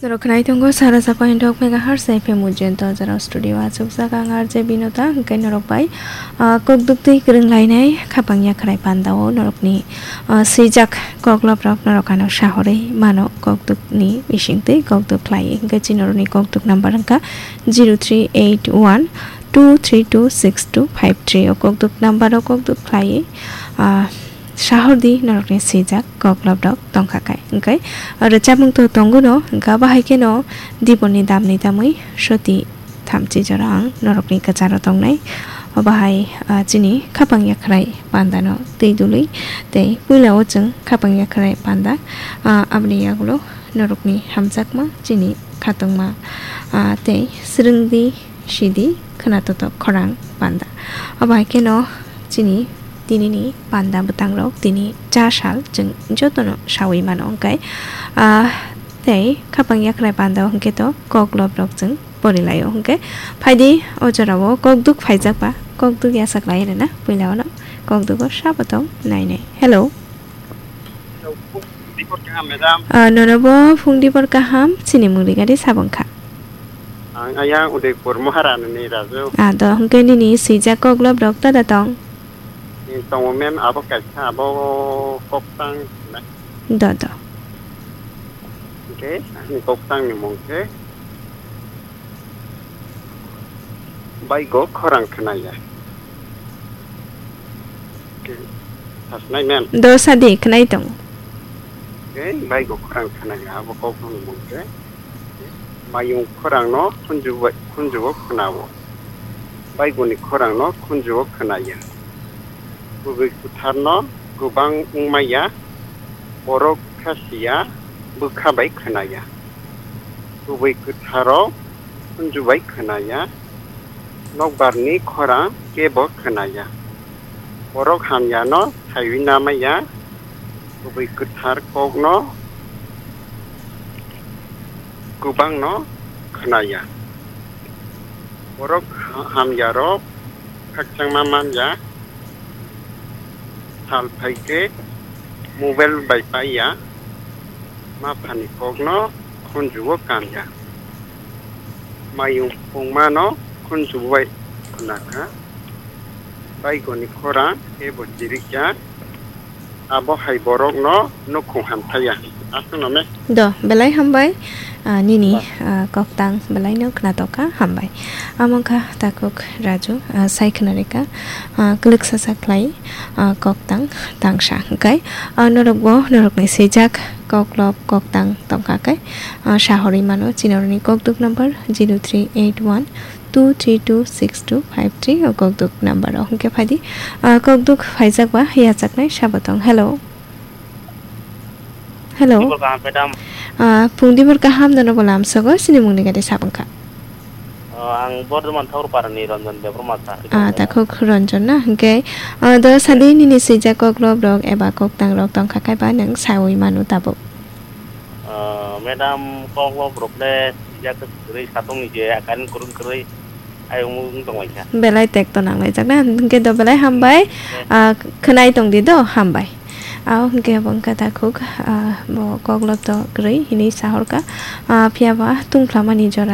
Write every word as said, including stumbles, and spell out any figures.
Norok khwnai tongo sara sa point thok megahertz F M Ujjayanta jora studio achukjak ang R J Binota, hwnkhe norok bai, ah, kokduk twi kwrwng lainai khapang yakhrai pandao norokni, ah, swijak kokloprok norok ano sahorwi mano kokdukni bisingtwi kokduk khlai, hwnkhe chini norokni kokduk number wngkha zero three eight one two three two six two five three o kokduk number o kokduk khlai, ah, sahordi norokni swijak kokloprok tongkha khai. Hwnkhe rwchapmung to tongo no, hwnkhe abo hai kheno diboni damni tamwi soti thamchi jora ang norokni kwcharo tongnai. Obo hai, ah, chini khapang yakhrai pandano twi dului tei puila o chwng khapang yakhrai panda, ah, aboni yagulo norokni hamjakma chini khatungma, ah, tei swrwngdi sidi khwnatotok khorang panda. Obo hai kheno chini tinini panda bwtangrok tini cha sal chwng jotono sawi mano hwnkhe, ah, tei khapang yakhrai panda hwnkhe to kokloprok chwng porilaio hwnkhe phaidi o jorao kokduk phaijakba kokduk yachaklai rwna puila ono kokdugo sabo tong nainai. Hello. Hello, phung dibor kaham, madam. Ah, nono bo phung dibor kaham, chini mung rigari sabong kha. Ang ayang Udaipur Maharani ni Raju. Ah, do, hwnkhe nini swijak kokloprok tada tong? Ni tongo mem abo kaisa, abo koktang na. Do, do. Hwnkhe, ani koktang ni mung khe Baigo khorang khwnaya. Sasnai mem. Do sadi khwnai tong. Baigo khorang khwnaya, abo kok no mung khe. Mayung khorang no khunju bai, khunju o khwnao. Baigo ni khorang no khunju o khwnaya. Kubui kwthar no kwbang wngmaya, borok kha siya, bwkha bai khwnaya. Kubui kwtharo khunju bai khwnaya, nokbarni khorang kebo khwnaya. Borok hamyano saiwi namaya, kubui kwthar kokno kwbangno khwnaya. Borok ha-, hamyarok khakchangma manya, sal phaikhe mobile bai paiya, maphani kokno khunjuo kanya. Mayung phungmano khunjubai khwnakha, baigoni khorang kebo chirikya. Abo hai borokno nukhung hamthaya. Aswkno me. Do, belai hambai, ah, nini, ah, koktang belaino khwnatokha, hambai. Amo wngkha takhuk Raju, ah, sai khwnarikha, ah, kwlwksa sa khlai, ah, koktang tangsa hwnkhe, ah, norokbo norokni swijak koklop koktang tongkha khe, ah, sahorwi mano chini oroni kokduk number zero three eight one two three two six two five three o kokduk number o hwnkhe phaidi, ah, kokduk phaijakba yachaknai sabatong. Hello. Hello. Dibor kaham, madam. Ah, phung dibor kaham, nono bo lamsogo, sini mungni gari sabwngkha. Ah, ang Bordhoman Thakurpara ni Ranjan Debbarma sa. Ah, takhuk Ranjan na, hwnkhe, ah, do sadi nini swijak koklop rok eba koktang rok tongkha kaiba nwng sawi mano tabuk. Ah, madam, koklop rok le swijak kwrwi satung ni je, karin kwrwng kwrwi. Ayung wng tong lai kha. Belai tek to nang lai jak na, hwnkhe do belai hambai. Ah, khwnai tong di do, hambai. Ah, hwnkhe bo wngkha takhuk, ah, bo koklop to kwrwi hinwi sahorkha. Ah, phiya ba tungphlamani jora.